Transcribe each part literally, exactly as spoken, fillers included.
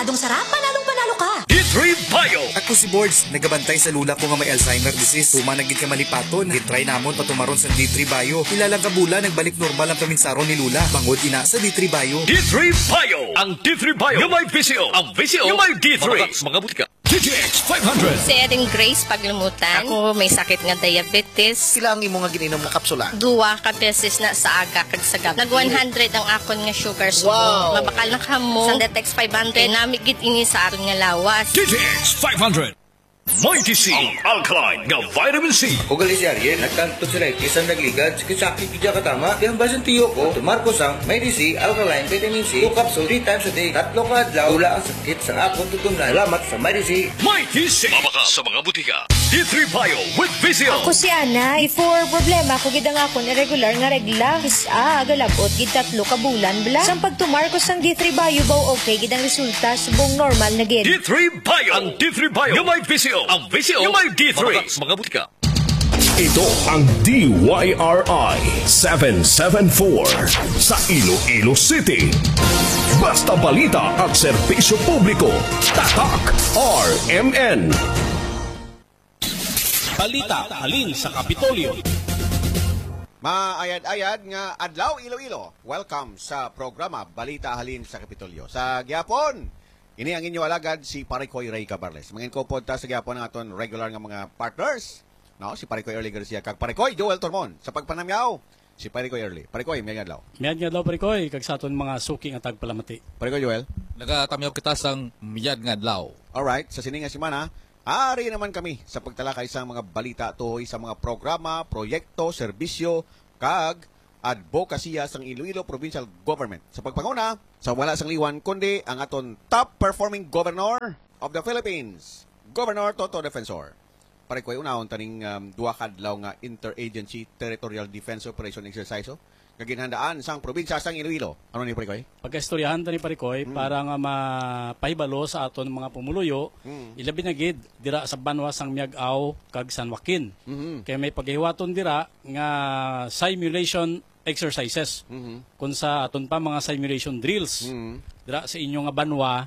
Dong sarap, panalong panalo ka! D three Bio. Ako si Bords, nagabantay sa lula ko nga may Alzheimer disease. Tuman na gid ka malipaton. Gitry namon patumaron sang D three Bio. Pila lang ka bulan, nagbalik normal ang paminsaron ni Lula. Bangod ina sa D three Bio. D three Bio. Ang D three Bio nga may V C O. Ang V C O nga may D three. Mga, mga butika. D T X five hundred. Si Eden Grace Paglumutan. Ako may sakit nga diabetes. Pila ang imo nga gininom nga kapsula? Duwa ka beses na sa aga kag sa gabi. Nag one hundred ang akon nga sugar subong. Wow! Mabakal na kamo. Sang Detex five hundred. Kay nami gid ini sa aton nga lawas. D T X five hundred. Mighty C, ang alkaline nga vitamin C. Ugali si Ariel, nagtang tonsillitis ang nagligad, sakit-sakit gid siya katama. Di ang basin tiyo ko, tumar ko sang Mighty C, alkaline vitamin C, two capsule, three times a day. Tatlo ka adlaw, wala ang sakit sa akon tutunlan. Salamat sa Mighty C. Mighty C. Mabakal sa mga butika. D three Bio with V C O. Ako si Ana. Before, problema ko gid ang akon irregular nga regla. Is, ah, galabot gid tatlo ka bulan, bla. Sang pagtumar ko sang D three Bio, baw okay gid ang resulta, subong normal na gid. D three Bio. Ang D three Bio nga may V C O. Ang V C O nga may D three. Mabakal sa mga butika. Ito ang D Y R I seven seven four sa Iloilo City. Basta balita at serbisyo publiko, Tatak R M N. Balita halin sa Kapitolyo. Maayad-ayad nga adlaw, Iloilo. Welcome sa programa Balita Halin sa Kapitolyo. Sa gihapon, ini ang inyo alagad, si Pare Koy Rey Cabarles. Mangin-upod ta sa gihapon ang aton regular nga mga partners, no? Si Pare Koy Early Garcia kag Pare Koy Joel Tormon. Sa pagpanamyaw, si Pare Koy Early. Pare Koy, mayad nga adlaw. Mayad nga adlaw, Pare Koy, kag sa aton mga suki nga tagpalamati. Pare Koy Joel. Nagatamyaw kita sang mayad nga adlaw. Alright, sa sini nga semana, ari naman kami sa pagtalakay sang mga balita tuhoy sa mga programa, proyekto, serbisyo, kag adbokasiya sang Iloilo Provincial Government. Sa pagpanguna, sa wala sang liwan, kundi ang aton top performing governor of the Philippines, Governor Toto Defensor. Pare Koy, unahon ta ning, um, duha ka adlaw nga interagency territorial defense operation exercise, oh, nga ginhandaan sang probinsya sang Iloilo. Ano ni, Pare Koy? Pagaistoryahan ta ni, Pare Koy, Mm. para nga mapahibalo sa aton mga pumuluyo, Mm. ilabi na gid dira sa banwa sang Miag-ao kag San Joaquin. Mhm. Kay may pagahiwaton dira nga simulation exercises. Mhm. Kung sa aton pa, mga simulation drills. Mhm. Dira sa inyo nga banwa,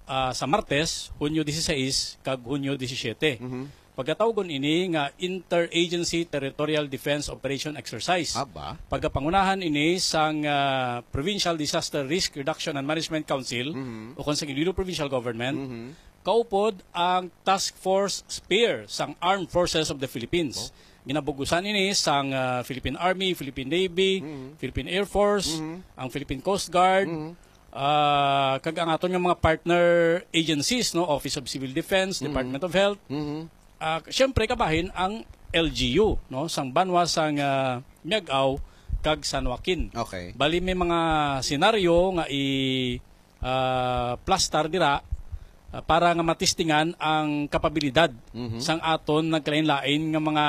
ah, sa Martes, Hunyo dieciséis kag Hunyo diecisiete. Mhm. Pagkatawgon ini nga Interagency Territorial Defense Operation Exercise. Aba. Pagapangunahan ini sang, ah, Provincial Disaster Risk Reduction and Management Council Mhm. o kon sa Iloilo Provincial Government. Mhm. Kaupod ang Task Force Spear sang Armed Forces of the Philippines. Oh. Ginabugusan ini sang, ah, Philippine Army, Philippine Navy, Mhm. Philippine Air Force, Mhm. ang Philippine Coast Guard, Mhm. ah, kag ang aton nga mga partner agencies, no, Office of Civil Defense, Mhm. Department of Health. Mhm. Ah, siyempre, kabahin ang L G U, no, sang banwa sang, ah, Miag-ao kag San Joaquin. Okay. Bali, may mga senaryo nga i- ah, plastar dira, ah, para nga matistingan ang kapabilidad Mhm. sang aton nagkalain-lain nga mga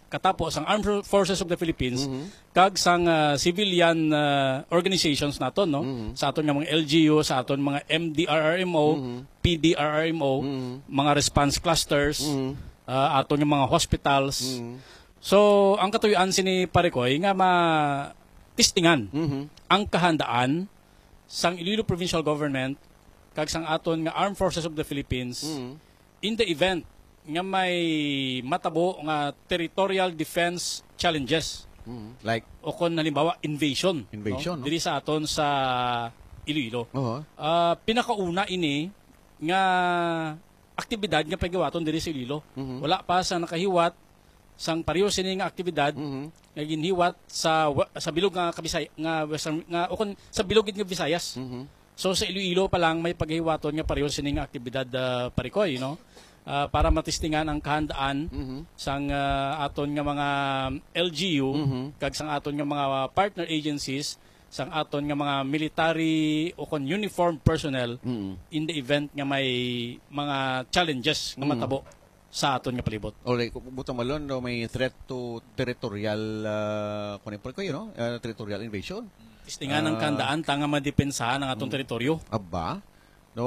katapo sang Armed Forces of the Philippines Mhm. kag sang, ah, civilian, ah, organizations naton, no? Mhm. Sa aton nga mga L G U, sa aton mga M D R R M O, Mhm. P D R R M O, Mhm. mga response clusters, Mhm. ah, aton nga mga hospitals. Mhm. So, ang katuyoan sini, Pare Koy, nga matistingan Mhm. ang kahandaan sang Iloilo Provincial Government kag sang aton nga Armed Forces of the Philippines Mm. in the event nga may matabo nga territorial defense challenges. Mm. Like? O kon halimbawa, invasion, Invasion, no? no? Diri sa aton sa Iloilo. Oho. Ah, pinakauna ini nga aktibidad nga pagahiwaton diri sa Iloilo. Mhm. Wala pa sa nakahiwat sang pareho sini nga aktibidad Mhm. nga ginhiwat sa wa-, sa bilog nga Kabisay-, nga Western, nga, o kon sa bilog gid nga Visayas. Mhm. So, sa Iloilo pa lang may pagahiwaton nga pareho sini nga aktibidad, ah, Pare Koy, no? Ah, para matistingan ang kahandaan Mhm. sang, ah, aton nga mga L G U Mhm. kag sang aton nga mga partner agencies, sang aton nga mga military o kon uniformed personnel Mhm. in the event nga may mga challenges nga Mhm. matabo sa aton nga palibot. O, like, butang malon, no, may threat to territorial, ah, kuwan, Pare Koy, no? Ah, territorial invasion. Tistingan ang Ah. kahandaan ta nga madepensahan ang aton Mm. teritoryo. Aba. No,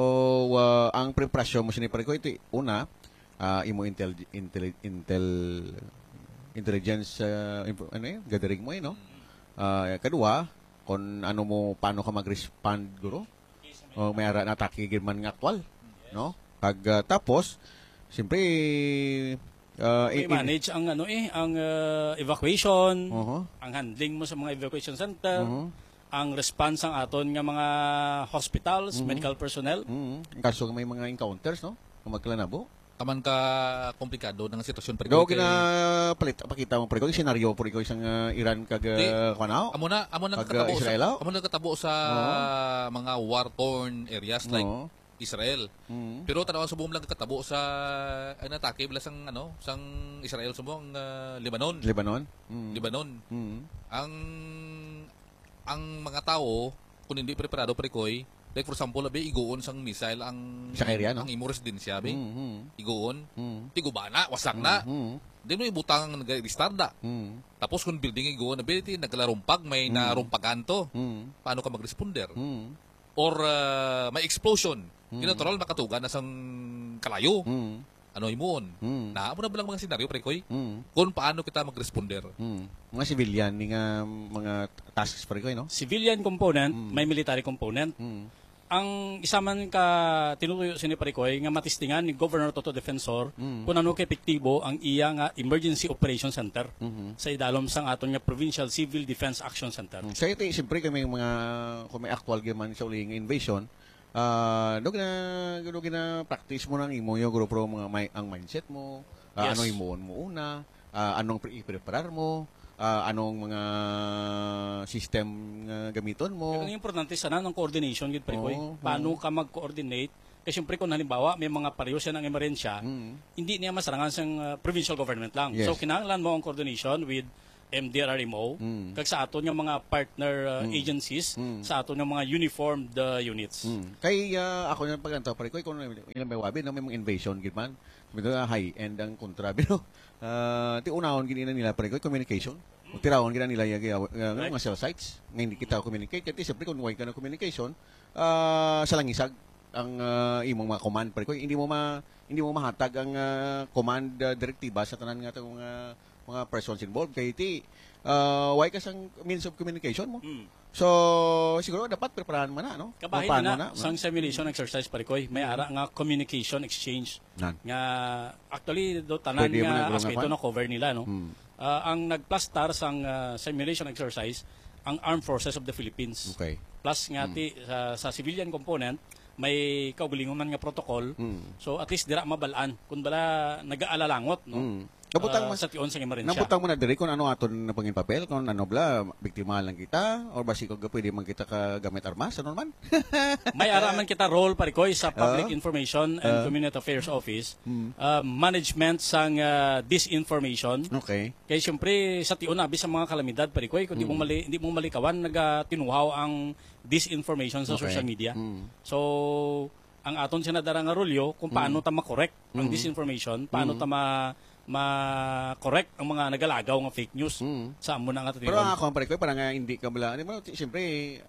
ah, ang preparasyon mo sini, Pare Koy, ito, una, ah, imo intel-, intel-, intel-, intelligence, ah, info-, ano yun? Gathering mo, eh, no? Ah, kadua, kung ano mo, paano ka mag-respond, guro? O may ara na atake gid man nga aktual, no? Kag, ah, tapos, siyempre, ah, i-, i- May manage ang, ano, eh, ang, ah, evacuation, Oho. ang handling mo sa mga evacuation center, Oho. ang response ang aton nga mga hospitals, Mhm. medical personnel. Mhm. Ang kaso may mga encounters, no? Kung magkalanabo. Taman ka komplikado ng sitwasyon, pre, Go, kay gina-, palit, pakita mo, pre, ko, yung senaryo, pre, ko, isang, ah, Iran kag, Di, ah, kuwan, ah? amo na, amo na Kag, ah, katabo sa, Israel, ah? amo na katabo sa Oo. mga war-torn areas like Oo. Israel. Mm. Pero tanaw subong lang katabo sa, ang atake bala sang, ano, sang Israel subong, ah, Lebanon. Lebanon? Mm. Lebanon. Mm. Ang, ang mga tawo, kung hindi preparado, pre, koy, like, for example, abi, iguon sang missile ang, Sa area, no? ang imo residensya, abi. Mm, mm. Iguon. Mm. Tiguba na, wasak na. Mm, mm. Di mo ibutang ang nag-, istarda. Mm. Tapos kung building iguon, abi, ti, naglarumpag, may Mm. narumpagan to. Mm. Paano ka mag-responder? Mm. Or, ah, may explosion. Mm. Di natural, makatuga na sang kalayo. Mm. Ano himuon? Mm. Na, amo na ba lang mga senaryo, pre, koy? Mm. Kung paano kita mag-responder? Mm. Mga civilian ni nga mga tasks, pre, koy, no? Civilian component, Mm. may military component. Mm. Ang isa man ka tinutuyo sini, pre, koy, nga matistingan ni Governor Toto Defensor Mm. kung ano ka epektibo ang iya nga Emergency Operation Center Mhm. sa idalom sang aton nga Provincial Civil Defense Action Center. Mm. Sa iti, siyempre, kami mga, kung may actual gyud man sa uli nga invasion, ah, do gina-, do gina-practice mo nang imo yung grupo, mga may, ang mindset mo, ah, Yes. ano himuon mo una, ah, anong pre-, i-preparar mo, ah, anong mga system nga gamiton mo. Pero ang importante sana ang coordination gid, pre, koy. Oo, Paano oo. ka mag-coordinate? Kay siyempre kung halimbawa may mga pareho siya ng emerensya, Mm. hindi niya masarangan sang, ah, provincial government lang. Yes. So kinahanglan mo ang coordination with M D R R M O, Mm. kag sa aton nga mga partner, ah, Mm. agencies, Mm. sa aton nga mga uniformed, ah, units. Mm. Kay, ah, ako na paglantaw, pre, koy, kung ilang may wabi, no, may mga invasion, gid man. May mga high-end ang kontra, pero, ah, ti unahon gid nila, pre, koy, communication. Tirawon gid nila yung, uh, Right. mga cell sites nga hindi kita communicate. Kasi siyempre, kung way ka na communication, ah, sa langisag ang, ah, imong mga command, pre, koy, hindi mo ma-, hindi mo mahatag ang, ah, command, ah, direktiba sa tanan nga tong, ah, mga persons involved. Kay ti, ah, way ka sang means of communication mo. Mm. So, siguro dapat preparahan man na, no? Kabahin Kung paano na, na, sang simulation exercise, pare koy, may Mm. ara nga communication exchange Nan. nga actually do tanan Pwede man nga nagulong aspeto nga na cover nila, no? Mm. Ah, ang nagplastar sang, ah, simulation exercise ang Armed Forces of the Philippines. Okay. Plus nga Mm. ti sa, sa civilian component may kaugalingon man nga protocol. Mm. So at least dira mabalaan kung bala nagaalalangot, no? Mm. Nabutang Ah, man, sa tion sang emerhensya. Nabutang mo na diri kung ano aton na pangin papel, kung ano bala, biktima lang kita, or basi kung pwede man kita ka gamit armas, ano man? May ara man kita role, pare koy, sa Public Ah? Information and Ah? Community Affairs Office, Mm. ah, management sang, ah, disinformation. Okay. Kay siyempre, sa tion abi sa mga kalamidad, pare koy, kung di mo Mm. mali-, di mo malikawan, nagatinuhaw ang disinformation sa Okay. social media. Mm. So, ang aton siya nadara nga rolyo kung paano Mm. ta ma-correct ang Mm. disinformation, paano Mm. ta ma-, ma-correct ang mga nagalagaw nga fake news Mm. sa amo na nga Pero tinuod. Ang ako, ang pare ko, para nga hindi ka bala, di mo, ti-, siyempre,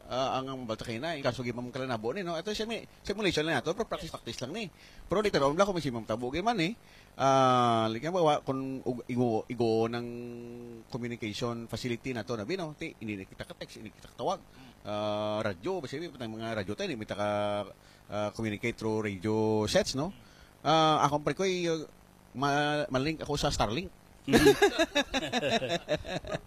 ah, ang, ang balta kayo na, yung kaso gimam kalanabo ni, no? Ito siya, may simulation lang nato, pero practice-practice lang ni. Pero later on, wala ko may simam tabo, gay man eh. Ah, like, ba, wa-, kung ug-, igo, igo ng communication facility na to, na, no? Ti, hindi na kita ka-text, hindi kita katawag. Ah, radyo, basta may mga radyo tayo, hindi kita ka, ah, communicate through radio sets, no? Ah, akong pare ko, eh, ma-, ma-link ako sa Starlink. Mhm.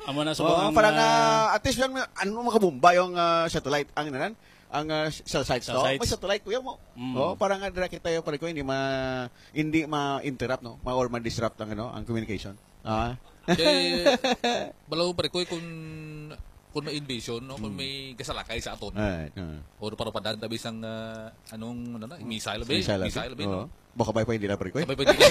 Amo na sa Oo, mga para nga, at least yan, ano, makabomba yung, ah, satellite, ang inanan, ang, ah, cell sites Cell to. Sites. May satellite, kuya mo. Mm. Oo, para nga dira kita yung pare ko, hindi ma-, hindi ma-interrupt, no? Ma-, or ma-disrupt ang, ano, ang communication. Ah. Kay, balaw, pare ko, kung, kung may invasion, no? Kung Mm. may gasalakay sa aton. Ay, ah. O, para padaan tabi sang, ah, anong, ano na, missile, be? Missile, Missile, be, no? Oo. Baka ba pa hindi na, pare ko, eh? Sabay pa hindi na.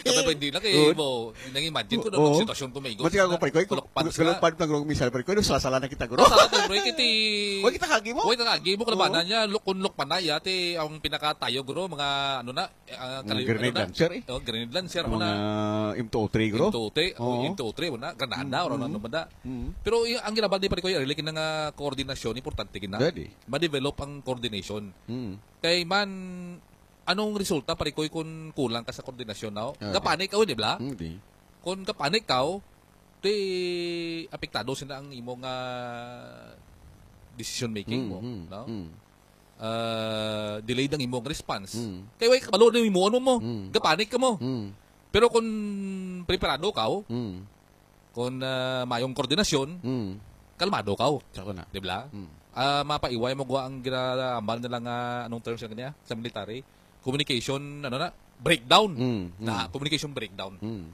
Sabay pa hindi na kay Oo. mo, nang-imagine ko na Oo. Ang sitwasyon ko may igo. Mati ako, pare ko, eh, Kulok pants na. Kulok pants na, gulong missile, pare ko, eh, sasala na kita, guro. Sasala to, pre, kiti. Wag kita kagi mo? Wag kita kagi mo, Oo. kalabanan niya, luk-, kung lukman na, yate, ang pinakatayo, guro, mga, ano na, eh, ah, Mga kali-, grenade ano na? Launcher, eh. Oh, grenade launcher Ang mo na. Mga M two oh three, guro. M two oh three, oh, Oo. M two oh three mo na, granada, Mm, or ano, mm. ano ba na? Mm. Pero y-, ang ginabal ni pare ko, yung really, kinang, ah, koordinasyon, importante gina. Dali. Ma-develop ang coordination. Mm. Kay man, anong resulta, pare ko, kung kulang ka sa koordinasyon, no? Ah, Gapanik ka, di ba? Hindi. Kung gapanik ka, di apektado sila ang imo nga decision making Mm, mo, mm, no? mm. ah, delayed ang imong response. Mm. Kay way kabalo na imo, ano mo, Mm. gapanik ka mo. Mm. Pero kung preparado ka, Mm. kung, ah, mayong koordinasyon, Mm. kalmado ka. Sakto na. Di ba? Mm. Ah, mapaiway mo gwa ang ginahambal nila nga, anong term sila niya? Sa military? Communication, ano na? Breakdown. Mm, Na, mm. communication breakdown. Mm.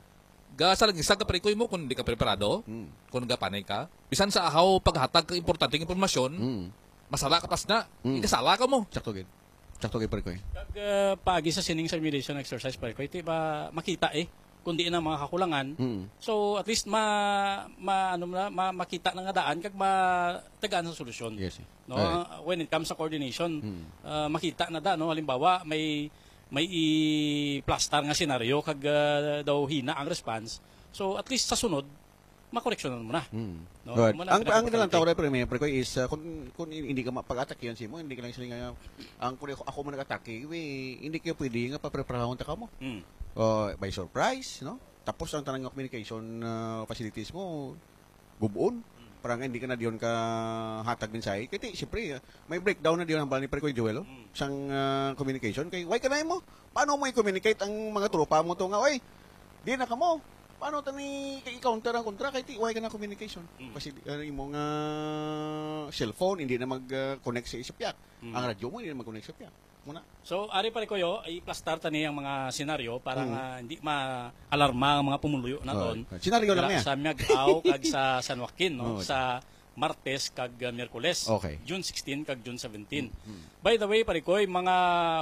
Ga sa lagi sa kaprikoy mo kung di ka preparado, Mm. kung gapanay ka, bisan sa ahaw paghatag ka importanteng impormasyon, Mm. masala ka pas na, Mm. ikasala ka mo. Sakto gid. Sakto gid, Parikoy. Kag, uh, paagi sa sining simulation exercise, Parikoy, ti ba makita eh kung di na mga kakulangan. Mm. So, at least ma, ma, ano na, ma, makita na nga daan kag matagaan sa solusyon. Yes, eh. No? Alright. Uh, when it comes sa coordination, Mm. uh, makita na da, no? Halimbawa, may may i-plaster nga senaryo kag, ah, daw hina ang response. So, at least sa sunod, makoreksyonan mo na. Hmm. No? Good. Mo na Ang, ang pinapakorek. Nalantaw na, Pre, Pre, Pre, is, ah, kung, kung hindi ka mapag-attack yan, Simo, hindi ka lang sila nga, ang kung ako, ako man nag-attack, eh, hindi kayo pwede nga papreparahon ta ka mo. Hmm. Oh, by surprise, no? Tapos ang tanang communication, ah, facilities mo, gubon. Para nga hindi ka na diyon ka hatag mensahe. Kaya, siyempre, ah, may breakdown na diyon ang bali ni Pre Kuya Joel, oh, Mm. sang, ah, communication. Kay, why ka na mo? Paano mo i-communicate ang mga tropa mo to nga, "Oy, di na ka mo. Paano tani i-counter ang kontra?" Kay, ti, why ka na communication? Mm. Kasi, ano, yung mga cellphone, hindi na mag, ah, connect sa isa piyak. Mm. Ang radyo mo, hindi na mag-connect sa piyak. Muna. So, ari, Pare Koyo, i-plastar tani ang mga senaryo para Mm. nga hindi ma-alarma ang mga pumuluyo naton. Oh, senaryo lang Dira niya. Sa Miagao kag sa San Joaquin, no? Oh, Sa Martes kag, uh, Miyerkules, Okay. June sixteen kag June seventeen. Mm, mm. By the way, Pare Koy, mga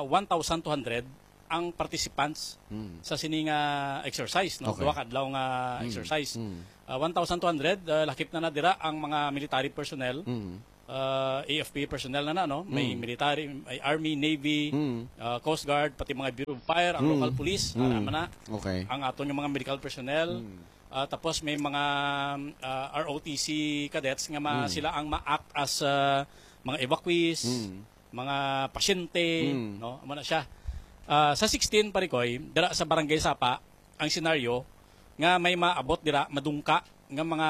one thousand two hundred ang participants Mm. sa sining, uh, exercise, no? Okay. Duha ka adlaw nga Mm, exercise. mm. Uh, one thousand two hundred, uh, lakip na na dira ang mga military personnel. Mm. uh, A F P personnel na na, no? May Mm. military, may army, navy, Mm. uh, coast guard, pati mga Bureau of Fire, ang Mm. local police, Mm. ara man na. Okay. Ang aton nga mga medical personnel, Mm. uh, tapos may mga, uh, R O T C cadets nga ma-, Mm. sila ang ma-act as, uh, mga evacuees, Mm. mga pasyente, Mm. no? Amo na siya. Uh, sa sixteen, Pare Koy, dira sa Barangay Sapa, ang senaryo nga may maabot dira, madungka nga mga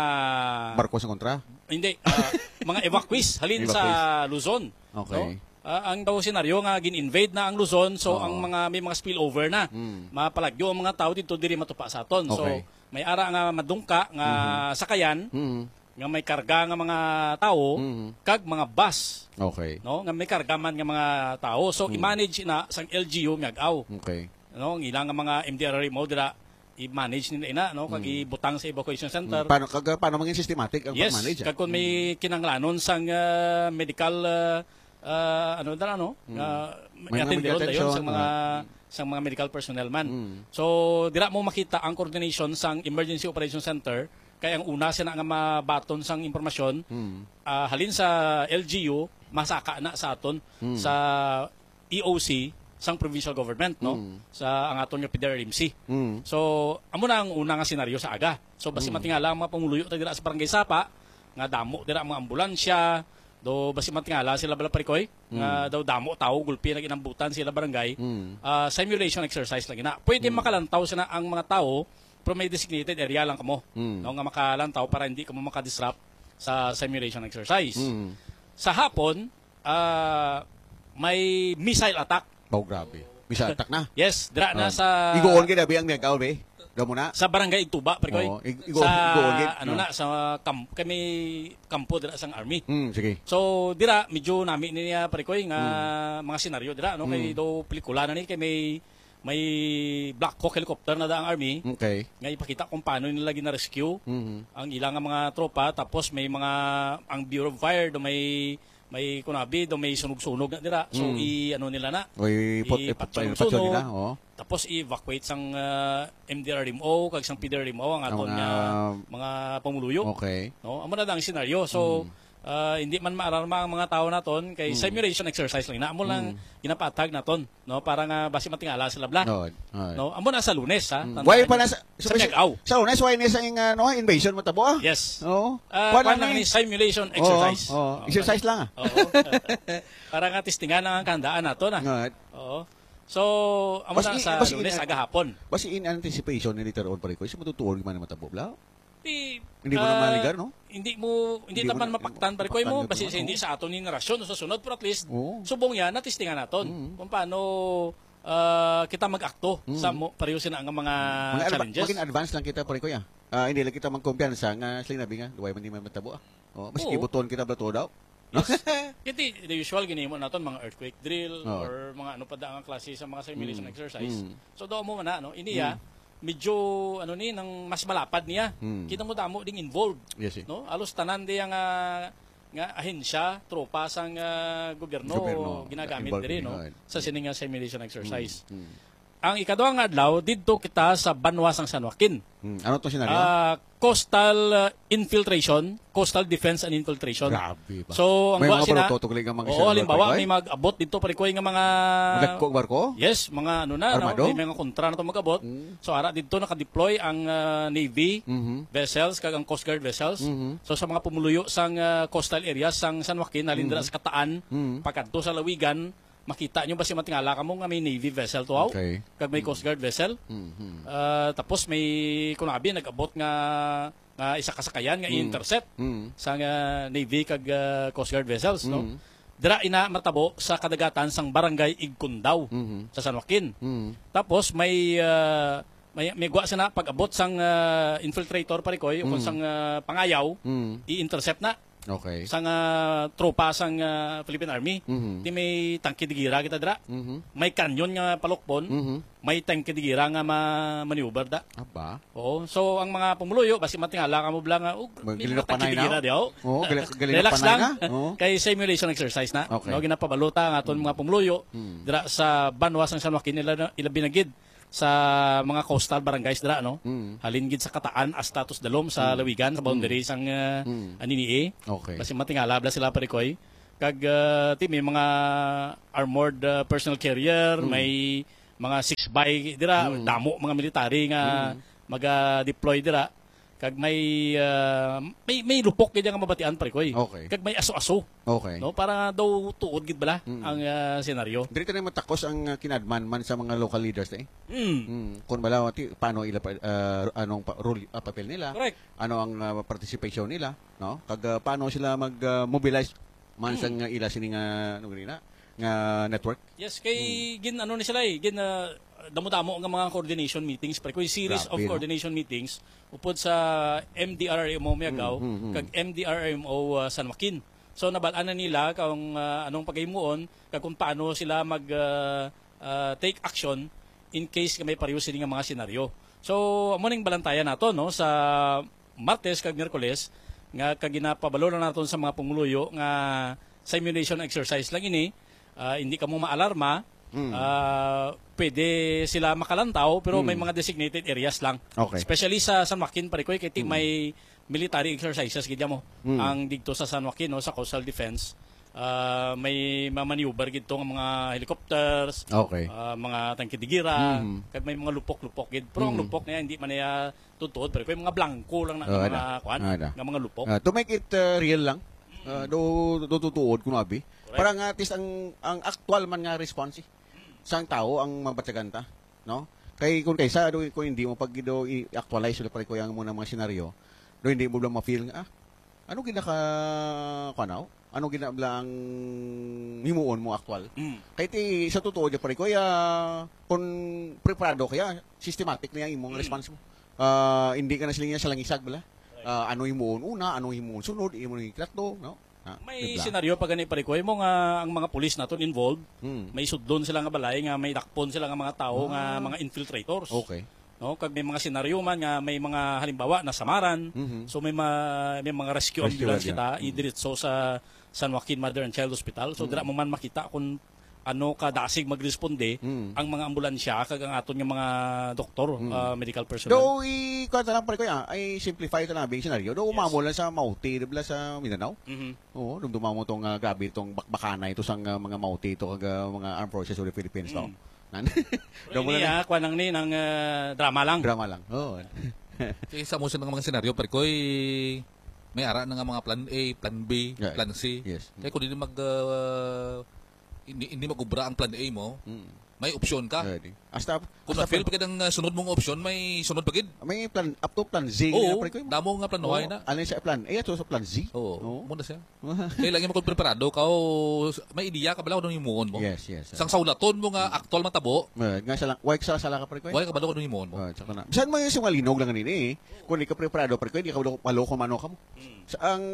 Barko sa kontra? Hindi, ah, mga evacuees halin sa Evacuees. Luzon, Okay. no? Ah, ang daw senaryo nga gin-invade na ang Luzon, so Oo. ang mga, may mga spillover na. Mm. Mapalagyo ang mga tao dito, diri matupa sa aton. So, Okay. may ara nga madungka nga Mhm. sakayan Mhm. nga may karga nga mga tao Mhm. kag mga bus, Okay. no? Nga may karga man nga mga tao. So, Mhm. i-manage na sang L G U Miag-aw. Okay. No, ang ilang nga mga M D R R M O dira, i-manage nila ina, no, kag Mm. ibutang sa evacuation center. Mm. Paano, kag, paano mangin systematic ang Yes, pag-manage, ah? Kag kung may Mm. kinahanglanon sang, ah, medical, ah, ah, ano dira, no? Mm. Ah, May mga i-attend medical doon dayon attention, sang mga, ah. sang mga medical personnel man. Mm. So, dira mo makita ang coordination sang Emergency Operation Center, kay ang una sila nga mabaton sang impormasyon, Mm. ah, halin sa L G U, masaka na sa aton, Mm. sa E O C sang provincial government, no? Mm. Sa ang aton nga P D R M C. Mm. So, amo na ang una nga senaryo sa aga. So, basi Mm. matingala ang mga pumuluyo ta dira sa Barangay Sapa, nga damo dira ang mga ambulansya, do basi matingala sila bala, Parikoy, nga Mm. daw damo tao, gulpi nag-inambutan sila barangay. Mm. Ah, simulation exercise lang ina. Pwede Mm. makalantaw sila ang mga tao, pero may designated area lang kamo, Mm. no, nga makalantaw para hindi kamo makadisrupt sa simulation exercise. Mm. Sa hapon, ah, may missile attack. Oh, grabe. Missile attack na. Yes, dira na Ah, sa Igoon gid abi ang Miag-aw, be. Daw mo na. Sa Barangay Igtuba, Parikoy. Oo, ig-, igoon, Sa, igoon gid. ano Oo. na, sa kam-, kami kampo dira sang army. Mm, sige. So, dira, medyo nami niya, Parikoy, nga Mm. mga senaryo dira, no? Kay Mm. daw pelikula na ni, kay may, may Black Hawk helicopter na da ang army. Okay. Nga ipakita kung paano nila gina-rescue Mhm. ang ilang nga mga tropa. Tapos may mga, ang Bureau of Fire, do may may kunabi, do may sunog-sunog na dira. So, Mm. i-, ano nila na, O, i-, ipot-, ipot-, ipatyon-sunog-sunog. Ipatyon nila, oo. Tapos, i-evacuate sang, ah, M D R M O, kag sang P D R M O, ang Ang aton mga nga mga pamuluyo. Okay. No? Amo na ang senaryo. So, Mm. ah, hindi man maalarma ang mga tao naton, kay Mm. simulation exercise lang na. Amo lang Mm. ginapatag naton. No, para nga basi matingala sila bala. Oo, oo. No, amo na sa Lunes, ha? Mm. Tandaan Why pa niyo. na sa, Sa sa, Miag-aw. Sa Lunes, why na sa ing, ano, invasion mo tabo, ah? Yes. Oo. Ah, Kuwan kuwan lang lang ni eh. simulation Oo, exercise. oo. Oo, Exercise lang, ah. Oo. Para nga testingan ang kahandaan nato na. Nga. Oo. So, amo Basi na i-, sa basi Lunes, in-, aga hapon. Basi in anticipation ni later on, pare ko, is matutuon man ang matabo, bla? Di, Hindi mo na ah, maligar, no? Hindi mo, hindi Hindi mo naman na- mapaktan, pare ko, mapaktan mo, ka basi naman, sa hindi oo. sa aton ni narasyon o sa sunod, pero at least, Oo. subong yan, natistingan naton. Mm. Kung paano ah, kita mag-akto Mm. sa mo, pareho sina nga mga, Mga adva- challenges. Maging advance lang kita, pare ko, ya. Ah, hindi lang kita magkumpiyansa nga sila nabi nga, duway man di man matabo, ah. Oh, maski Oo. buton kita, bla, tudaw. Kiti, the usual, ginimo naton, mga earthquake drill Oo. or mga ano pa da nga klase sa mga simulation Mm. exercise. Mm. So, do mo man na, no? Ini, ah, medyo, ano ni, nang mas malapad niya. Mm. Kita mo damo ding involved. Yes, eh. No? Alos tanan di nga, nga ahensya, tropa sang ah, gobyerno, Gobyerno, ginagamit involved diri, in, no? ah, Sa sining nga simulation exercise. Mm, mm. Ang ikaduha nga adlaw, didto kita sa banwa sang San Joaquin. Mm. Ano to senaryo? Ah, coastal ah, infiltration, coastal defense and infiltration. Grabe ba? So, ang May gawa mga sina, baruto to gali nga mga oo, senaryo, halimbawa, pare ko, may mag-abot dito, pare ko, nga mga Magdagko barko? Yes, mga ano na, no? Armado? May mga kontra na to mag-abot. Mm. So, ara dito naka-deploy ang ah, Navy Mhm. vessels kag ang Coast Guard vessels. Mhm. So, sa mga pumuluyo sang ah, coastal areas sang San Joaquin, halin Mhm. dira sa Kataan, Mhm. pakadto sa Lawigan, makita nyo ba si matingala kamo nga may Navy vessel to, aw? Okay. Kag may Coast Guard vessel. Mhm. Ah, tapos may kunabi nag-abot nga nga isa ka sakayan nga Mm. i-intercept Mm. sang ah, Navy kag ah, Coast Guard vessels, no? Mm. Dira ina matabo sa kadagatan sang Barangay Igcundao Mhm. sa San Joaquin. Mm. Tapos may ah, may may gwa sina pag-abot sang ah, infiltrator, pare ko, o kung Mm. sang ah, pangayaw, Mm. i-intercept na Okay. sang ah, tropa sang ah, Philippine Army. Mhm. Di may tangke de guerra kita dira. Mhm. May kanyon nga palukbon, Mhm. may tangke de guerra nga ma maneuver da. Aba. Oo. So, ang mga pumuluyo, basi matingala kamo bla nga, oh, Mag- may Galinak mga tangke panay de na. guerra di, oh. Oo, gali- galinak Relax panay lang. na. Oo. Kay simulation exercise na. Okay. No, ginapabalota ang aton mga pumuluyo Mm. dira sa banwa sang San Joaquin, ila, ilabi na gid sa mga coastal barangays dira, no? Mm. Halin gid sa Kataan hasta to sa dalom sa Mm. Lawigan, sa boundary Mm. sang uh, Mm. Anini-y. Okay. Basi matingala bla sila, pare ko, eh. Kag uh, ti, may mga armored uh, personnel carrier, Mm. may mga six by dira, Mm. damo mga military nga Mm. maga-deploy dira. Kag may uh, may may lupok gid nga mabatian, pare ko, eh. Okay. Kag may aso-aso, Okay. no? Para daw tuod gid bala Mm. ang uh, senaryo. Diri tayo matakos ang uh, kinadman man sa mga local leaders, eh. Mm. Mm. Kung bala, ti, paano ila pa, uh, anong pa, role, uh, papel nila? Correct. Ano ang uh, participation nila, no? Kag uh, paano sila mag-mobilize man Mm. sa nga ila sini nga, ano gani na, nga network? Yes, kay gin ano ni sila eh, gin uh, damo-damo nga mga coordination meetings, pare ko, series Grabe, of no? Coordination meetings upod sa M D R R M O Miagao Mm, mm, mm. kag M D R R M O uh, San Joaquin. So nabal-an na nila kung uh, anong paghimuon kag kung paano sila mag uh, uh, take action in case nga may pareho sini nga mga senaryo. So amo ning balantayan nato, no, sa Martes kag Miyerkules nga kag ginapabalo na naton sa mga pumuluyo nga simulation exercise lang ini. Ah, hindi kamo maalarma. Mm. Ah, pwede sila makalantaw pero may Mm. mga designated areas lang. Okay. Especially sa San Joaquin, pare ko, kay ti Mm. may military exercises gid mo Mm. ang digto sa San Joaquin, no, sa coastal defense. Ah, may mamaneuver gid to nga mga helicopters, Okay. ah, mga tangke de guerra, Mm. kag may mga lupok-lupok gid. Pero ang Mm. lupok niya hindi man niya tutuod, pero may mga blanco lang na Oh, nga ada. mga kuan, Ada. nga mga lupok. Uh, to make it uh, real lang, uh, do, do tutuod kuno abi. Correct. Para nga at least ang ang aktual man nga response eh, sang tao ang mabatyagan ta, no? Kay kung kaysa do kung hindi mo pag do i-actualize ulit, pare ko, yang mo na mga senaryo, do hindi mo lang ma-feel nga ah, ano gina ka kuan, ano gina bala ang himuon mo aktual. Mm. Kay ti sa totoo di, pare ko, ya, kung preparado kaya systematic na yung imong Mm. response mo. Ah, hindi ka na sila niya sa langisag bala. Ah, ano himuon una, ano himuon sunod, imo ni ikatlo, no? Ah, May di ba? Senaryo pa gani, pare ko, mo nga ang mga pulis naton involved, Hmm. may sudlon sila nga balay nga may dakpon sila nga mga tawo nga Ah. mga infiltrators. Okay. No, kag may mga senaryo man nga may mga halimbawa nasamaran. Mhm. So may ma- may mga rescue, Rescue ambulance yan. kita Mhm. idiretso sa San Joaquin Mother and Child Hospital. So Mhm. dira mo man makita kung ano ka dasig magresponde Mhm. ang mga ambulansya kag ang aton nga mga doktor, Mhm. ah, medical personnel. Do i kuan ta lang, pare ko, ya, ay simplify ta lang bing senaryo. Do umamo lang sa Mauti, di ba, sa Mindanao? Mhm. Oo, dumduma mo tong ah, grabe itong bakbakanay ito sang ah, mga Mauti ito kag ah, mga Armed Forces of the Philippines, no? Mm. Nan- Pero Daw mo ini, na- ah, kuwan lang ni, nang ah, drama lang. Drama lang. Oo. Kaya sa mo sa mga senaryo, pare ko, eh, may ara na nga mga plan A, plan B, Yeah. plan C. Yes. Kaya kung hindi mag, ah, hindi, hindi mag-ubra ang plan A mo, Mm. May opsyon ka. Pwede. Hasta, Kung hasta ma-fail pa gid ang, uh, sunod mong option, may sunod pa gid. May plan, up to plan Z Oo, na, pre, ko. Damo nga planohay Oo, na. Ano sa plan A at sa plan Z? Oo, Oo. Muna siya. Kailangan mo kung preparado ka o s-, may ideya ka bala kung ano yung muon mo. Yes, yes. Sang saulaton mo nga Mm. aktual matabo. Eh, nga sala, why sala, sala ka, pre, ko? Why ka bala kung ano yung muon mo? Oh, tsaka na. Bisan mo yung sinungalinong lang nini, eh. Kung di ka preparado, pre, ko, hindi ka walo, walo kung mano ka mo. Mm. Sa ang,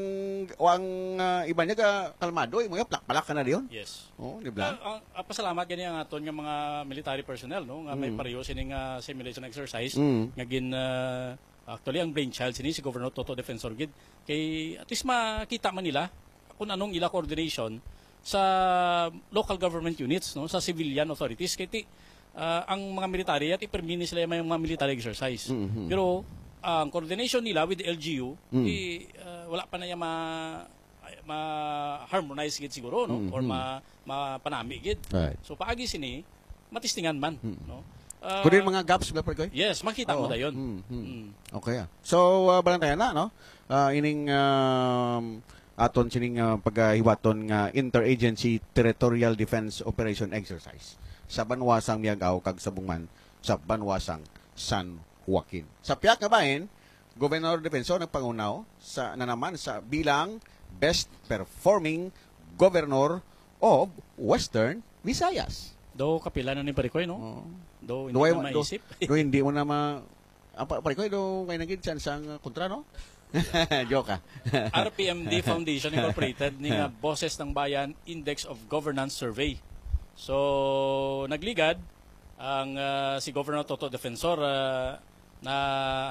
ang, ah, iba niya ka kalmado, eh, mga plak-plak ka na diyon. Yes. Oh, di ba? Ah, ang, ah, pasalamat gani ang aton nga mga military personnel, no, nga may Mm. pareho sini nga simulation exercise Mm. nga gin, ah, actually ang brainchild sini si Governor Toto Defensor gid. Kay at least makita man nila kung anong ila coordination sa local government units, no, sa civilian authorities. Kay ti, ah, ang mga military, at ipermini sila may mga military exercise. Mhm. Pero ang coordination nila with the L G U, Mm. di, ah, wala pa na yung ma-, ma-harmonize gid siguro, no? Mhm. Or ma-, mapanami gid. Right. So, paagi sini, matistingan man, Mm. no? Ah, Kung din mga gaps, ba, pre, ko? Yes, makita mo Oo. dayon. Mm, mm. Mm. Okay, ah. So, ah, balantayan na, no? Ah, ining, um, aton sining, ah, paghiwaton nga interagency territorial defense operation exercise sa banwa sang Miag-ao kag subong man sa banwa sang San Joaquin. Sa pihak nga bahin, Governor Defensor nagpangunaw sa, na naman sa bilang best performing governor of Western Visayas. Do kapila na ni Parikoy, no? Oo. Do hindi Do ay- na do- maisip. Do hindi mo na ma-, ang pa-, Parikoy, do kay nagid siya sang kontra, no? Joke, ah. R P M D Foundation Incorporated ni nga Boses ng Bayan Index of Governance Survey. So, nagligad ang, ah, si Governor Toto Defensor, ah, na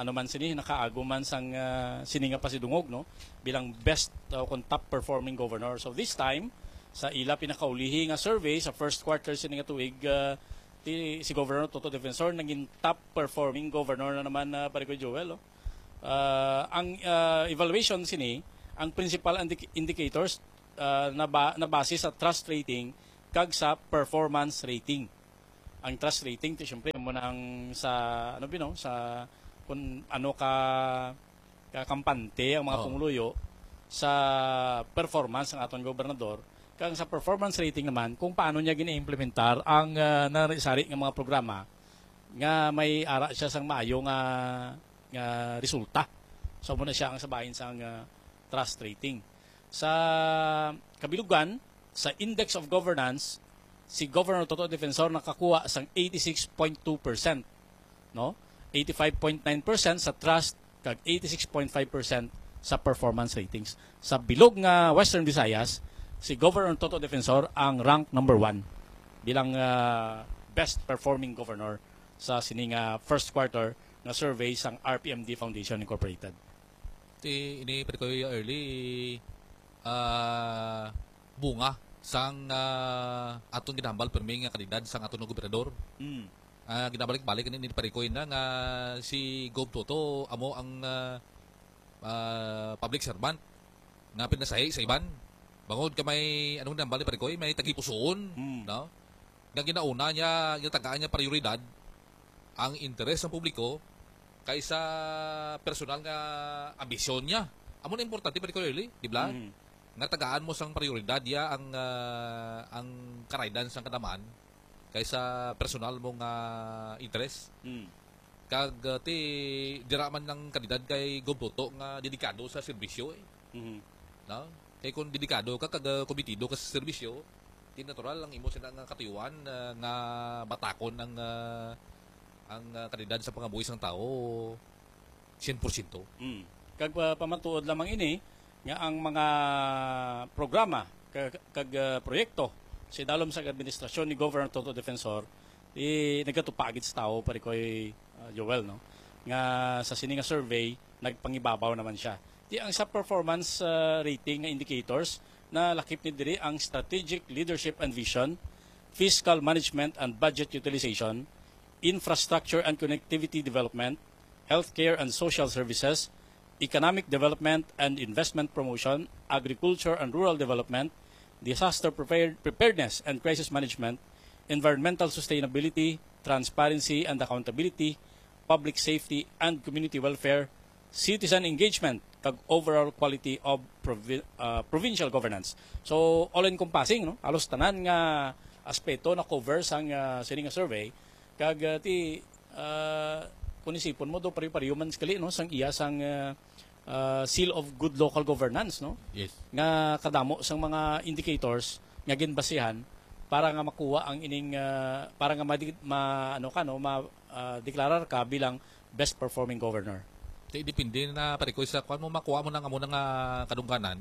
ano man sini, nakaago man sang, ah, sini nga pasidungog, no, bilang best, uh, kung top performing governor. So, this time, sa ila pinakaulihi nga survey sa first quarter sini nga tuig, ah, ti, si Governor Toto Defensor naging top performing governor na naman, ah, pare ko Joel, oh. Ah, ang, ah, evaluation sini, ang principal indic-, indicators, ah, naba-, nabase sa trust rating kag sa performance rating. Ang trust rating, ti, syempre, mo na ang sa, ano, bino, sa kung ano ka, ka kampante ang mga Oo. pumuluyo sa performance ng aton gobernador, kag sa performance rating naman, kung paano niya gina-implementar ang, ah, nari-sari nga mga programa nga may ara siya sang maayo nga, nga resulta. So, muna siya ang sabahin sang, ah, trust rating. Sa kabilugan, sa Index of Governance, si Governor Toto Defensor nakakuha sang eighty-six point two percent, no? Eighty-five point nine percent sa trust kag eighty-six point five percent sa performance ratings. Sa bilog nga Western Visayas, si Governor Toto Defensor ang rank number one bilang, ah, best performing governor sa sini nga first quarter nga survey sang R P M D Foundation Incorporated. Ti, ini, pwede ko early, ah, bunga sang, ah, aton ginahambal permi nga kalidad sang aton nga gobernador. Mm. Ah, ginabalik-balik ni, ni Parikoy na nga si Gov Toto amo ang, ah, ah, public servant nga pinasahi sa iban. Bangod ka may, anong ginahambal ni Parikoy, may tagipusoon, Mm. no? Nga ginauna niya, ginatagaan niya prioridad ang interes ng publiko kaysa personal nga ambisyon niya. Amo na importante, Parikoy Early, di ba? Mm. Nga tagaan mo sang prioridad ya ang, ah, ang karaydan sang kadaman kaysa personal mo nga interes. Mm. Kag, ah, ti, dira man ang kalidad kay Gov Toto nga dedikado sa serbisyo, eh. Mhm. No? Kay kung dedikado ka kag, ah, komitido ka sa serbisyo, ti natural ang imo sina nga katuyuan, ah, nga batakon ang, ah, ang, ah, kalidad sa pangabuhi sang tawo sien por siento. Mm. Kag pa-, pamatuod lamang ini nga ang mga programa ka-, kag, ah, proyekto sa idalom sa administrasyon ni Governor Toto Defensor, i-, nagkatupa gid sa tawo, pare ko, ah, Joel, no? Nga sa sini nga survey, nagpangibabaw naman siya. Di ang sa performance, ah, rating nga indicators, nalakip ni diri ang strategic leadership and vision, fiscal management and budget utilization, infrastructure and connectivity development, healthcare and social services, economic development and investment promotion, agriculture and rural development, disaster prepared-, preparedness and crisis management, environmental sustainability, transparency and accountability, public safety and community welfare, citizen engagement, kag overall quality of provi-, ah, provincial governance. So, all-encompassing, no? Halos tanan nga, aspeto na cover sang, ah, sini nga survey. Kag, ah, ti, ah, kung isipon mo, do pari-pariyo man kali, no, sang iya sang, ah, ah, seal of good local governance, no? Yes. Nga kadamo sang mga indicators nga ginbasihan para nga makuha ang ining, ah, para nga madi-, ma, ano ka, no, ma, ah, deklarar ka bilang best performing governor. Di, depende na, pare ko, sa kuan mo, makuha mo na nga mo na nga kadungganan,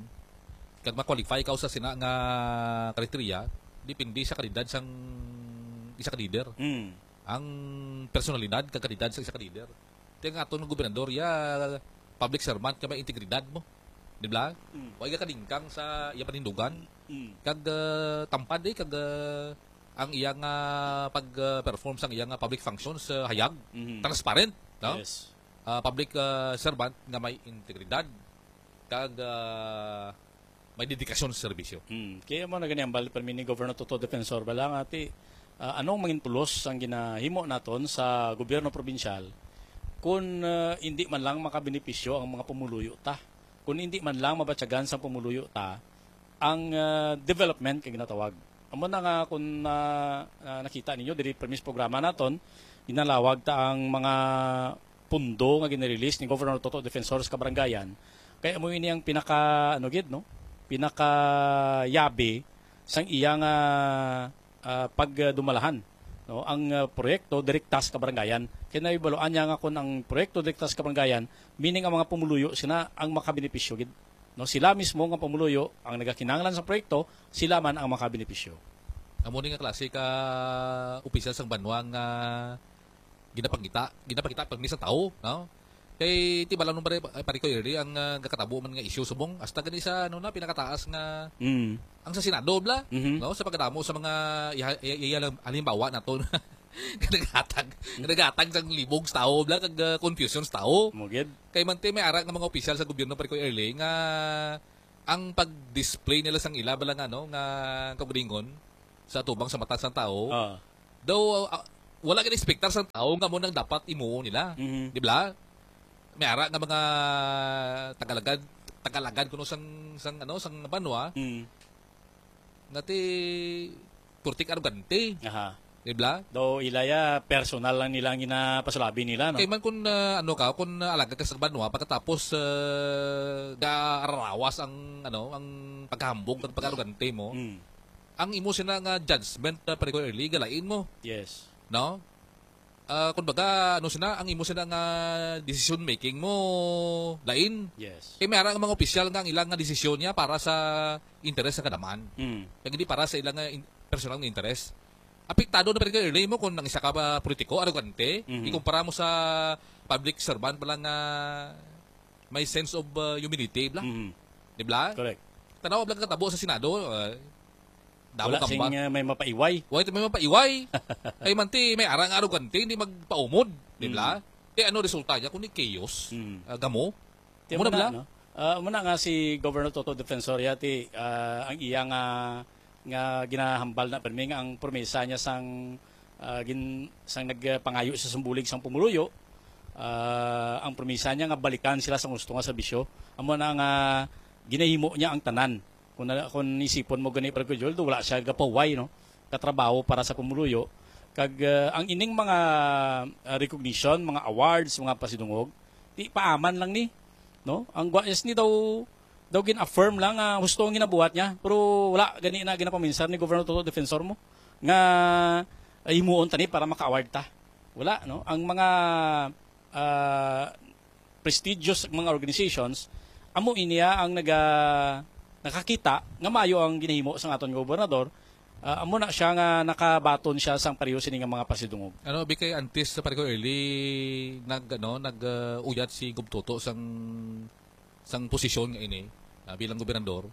kag ma-qualify ka sa sina nga kriteriya, depende sa kalidad sang isa ka leader. Mm. Ang personalidad kag kalidad sa isa ka leader. Ti ang aton nga gobernador, ya public servant nga may integridad mo. Di ba? Mm. Wa iya kalingkang sa iya panindugan. Mm. Kag ah, tampad eh, kag ah, ang iya nga pag-perform sang iya nga public functions, ah, hayag, Mhm. transparent, no? Yes. Ah, public ah, servant nga may integridad kag ah, may dedikasyon sa serbisyo. Hmm. Kaya mo na gani ang bal permi ni Governor Toto Defensor bala nga ti, ah, anong mangin pulos ang ginahimo naton sa gobyerno probinsyal kung ah, hindi man lang makabenepisyo ang mga pumuluyo ta, kung hindi man lang mabatyagan sa pumuluyo ta ang ah, development kay ginatawag. Amo na nga kung ah, ah, nakita ninyo diri permi sa programa naton, ginalawag ta ang mga pundo nga ginarelease ni Governor Toto Defensor sa kabarangayan, kay amo ini ang pinaka, ano gid, no? Pinaka yabi sang iya nga ah, pagdumalahan, no? Ang ah, proyekto direkta sa kabarangayan. Kay nahibaluan niya nga kung ang proyekto direkta sa kabarangayan, meaning ang mga pumuluyo sina ang makabenepisyo gid. No, sila mismo nga pumuluyo ang nagakinahanglan sa proyekto, sila man ang makabenepisyo. Amo ni nga klase ka opisyal sang banwa nga ginapangita, ginapakita permi sa tawo, no? Kay ti bala nung pare, pare ko early ang ah, gakatabo man nga issue subong hasta gani sa ano na pinakataas nga Mm. ang sa Senado bla, Mhm. no? Sa pagkadamo sa mga iha- iya- iya- halimbawa nato nga naghatag, nga naghatag sang libog sa tawo bla kag ah, confusion sa tawo. Mo gid. Kay man ti may ara nga mga opisyal sa gobyerno pare ko early nga ang pag-display nila sang ila bala nga ano nga kaugalingon sa atubang sa mata sang tawo. Ah. Daw ah, wala gid expectar sang tawo nga mo nang dapat imuo nila. Mhm. Di ba? May ara nga mga tagalagad, tagalagad kuno sang sang ano sang banwa Mm. nga ti purtik arogante, Aha. di ba? Daw ila ya personal lang nila ang ginapasulabi nila, no? Kay man kun ah, ano ka, kun ah, alagad ka sa banwa pagkatapos uh, gaararawas ang ano, ang paghambog at pag-arogante mo, Mm. ang imo sina nga judgment na pare ko early galain mo, Yes. no? Ah, kumbaga, ano sina, ang imo sina nga decision making mo lain. Yes. Kay may ara nga mga opisyal nga ang ilang nga desisyon niya para sa interes sa kadaman. Mm. Kag hindi para sa ilang nga in- personal nga interes. Apektado na pare ko early mo kung ang isa ka ba politiko, arogante, Mhm. ikumpara mo sa public servant pala nga may sense of uh, humility bla. Mhm. Di bla? Correct. Tanaw bla katabo sa Senado, uh, damo Wala kamba. Sing uh, may mapaiway. Wa ito may mapaiway. Kay man ti may ara nga arogante, hindi magpaumod, di bla? Kay ano resulta niya kundi chaos? Mm. Ah, gamo. Ti Muna muna, bla? No? Ah, muna nga si Governor Toto Defensor yati, ah, ang iya nga nga ginahambal na permi nga ang promesa niya sang ah, gin, sang nagpangayo sa sumbulig sang pumuluyo, ah, ang promesa niya nga balikan sila sa gusto nga serbisyo. Amo na nga ginahimo niya ang tanan. Kung, na, kung isipon mo gani, Pare Joel, do, wala siya gapahuway, no? Katrabaho para sa pumuluyo. Kag ah, ang ining mga ah, recognition, mga awards, mga pasidungog, ti paaman lang ni, no? Ang guwayas ni daw daw gin-affirm lang nga husto ang ginabuhat niya, pero wala gani na ginakuminsar ni Governor Toto Defensor mo nga ah, himuon tani para maka-award ta. Wala, no? Ang mga ah, prestigious mga organizations, amo iniya ang naga nakakita nga maayo ang ginahimo sang aton nga gobernador. Ah, amo na siya nga nakabaton siya sang pareho sini nga mga pasidungog. Ano, bi kay antes sa pare ko early nag ano, nag uh, uyat si Gov Toto sang sang posisyon nga ini, ah, bilang gobernador.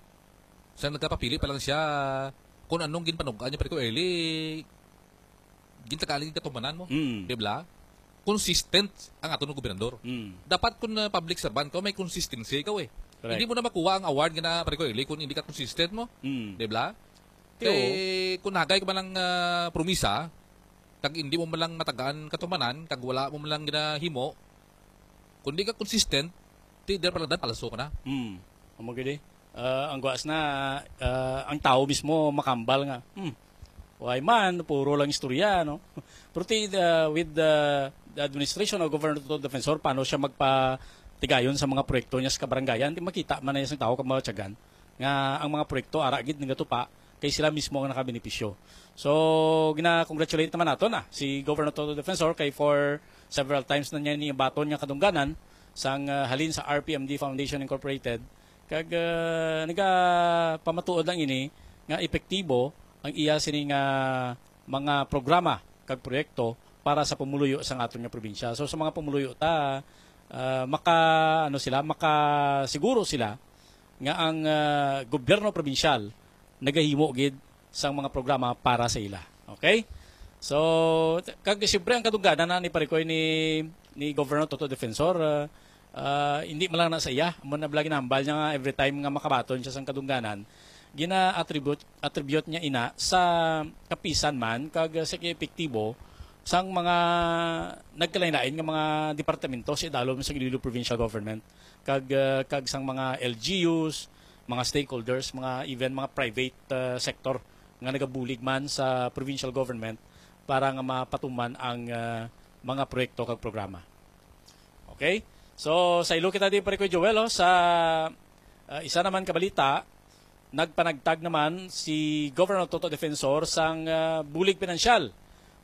Sa nagkapapili pa lang siya, kung anong ginpanugaan niya pare ko early, gintagali gatumanan mo. Mm. Di ba? Consistent ang aton nga gobernador. Mm. Dapat kung uh, public servant ka, may consistency ikaw eh. Correct. Hindi mo na makuha ang award nga na pare ko early kung hindi ka consistent mo. Mm. Di ba? Tiyo. Kay kung nagay ka man lang ah, promisa, kag hindi mo man lang matagaan katumanan, kag wala mo man lang ginahimo, kung di ka consistent, ti der pala palso ka na. Hmm. Amo gid eh. Ah, ang guas na ah, ang tao mismo makambal nga. Hmm. Why man, puro lang istorya, no? Pero ti, uh, with the, the administration of Governor Toto Defensor, paano siya magpatigayon sa mga proyekto niya sa kabarangayan? Di makita man na niya sa tao kag mga tiyagan nga ang mga proyekto ara gid nagatupa kay sila mismo ang nakabenepisyo. So, gina-congratulate naman nato na si Governor Toto Defensor kay for several times na niya nibaton nga kadungganan sang uh, halin sa R P M D Foundation Incorporated. Kag uh, nagapamatuod lang ini nga epektibo ang iya sini nga mga programa kag proyekto para sa pumuluyo sa aton nga probinsya. So sa mga pumuluyo ta uh, maka ano sila, makasiguro sila nga ang uh, gobyerno probinsyal nagahimo gid sang mga programa para sa ila. Okay? So, kag siyempre ang kadungganan na ni Parikoy ni ni Governor Toto Defensor, uh, uh, hindi man lang na sa iya, amo na bala ginahambal niya nga every time nga makabaton siya sang kadungganan, gina-attribute attribute niya ina sa kapisan man kag sa epektibo sang mga nagkalain-lain nga mga departamento sa idalom sa Iloilo Provincial Government kag uh, kag sang mga L G Us, mga stakeholders, mga even mga private uh, sector nga nagabulig man sa provincial government para nga mapatuman ang uh, mga proyekto kag programa. Okay? So, sa ilo kita di pare ko Joel, oh, sa uh, isa naman kabalita, nagpanagtag naman si Governor Toto Defensor sang uh, bulig pinansyal